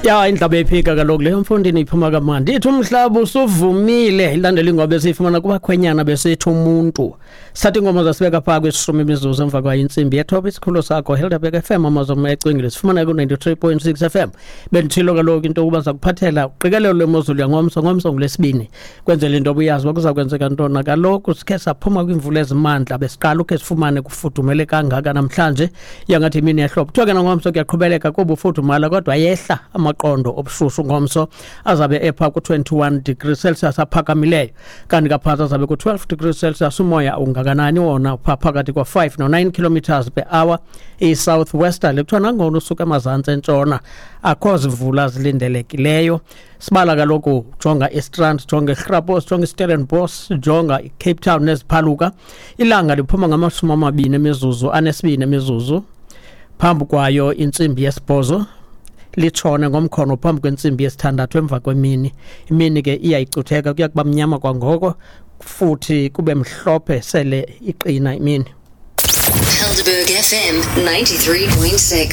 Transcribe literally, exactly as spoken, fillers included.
Ya, indlaba ephika kaloku leyo, mfondini, iphuma kamandi. Ithi umhlaba usuvumile, ilandela ingoma besiyifumana kubakhwenyana besithi umuntu. Sathi ingoma zasibeka phaa kwishumi imizuzu emva kwayo intsimbi yethoba. Isikhululo sakho Helderberg F M, amazwe ecwengile, sifumana ku-ninety-three point six F M. Bendithilo kaloku into yokuba zakuphathela uqikelelo lwemozulu yangomso, ngomso ngulesibini, kwenzela into obuyazi uba kuza kwenzeka ntona. Kaloku sikhe saphuma kwiimvula ezimandla, besiqala ukhe sifumane kufudumele kangaka namhlanje, yangathi imini yehlobo. Kuthiwa ke nangomso kuyaqhubeleka kuba ufudumala, kodwa yehla amaqondo obushushu. Ngomso azabe epha ku-twenty-one degrees Celsius aphakamileyo, kanti kaphantsi azabe ku-twelve degrees Celsius. Umoya ungakanani wona? Pha phakathi kwa-five no-nine kilometers per hour, i-south westerly. Kuthiwa nangona usuka emazantsi entshona, akho zimvula zilindelekileyo. Sibala kaloku, jonga iStrand, jonga iGrabos, jonga iStellenbosch, jonga iCape Town neziphaluka. Ilanga liphuma ngamashumi amabini emizuzu anesibini emizuzu phambi kwayo intsimbi yesibhozo, litshone ngomkhono phambi kwentsimbi yesithandathu emva kwemini. Imini ke iyayicutheka, kuya kuba mnyama kwangoko, futhi kube mhlophe sele iqina imini. Helderberg F M ninety-three point six.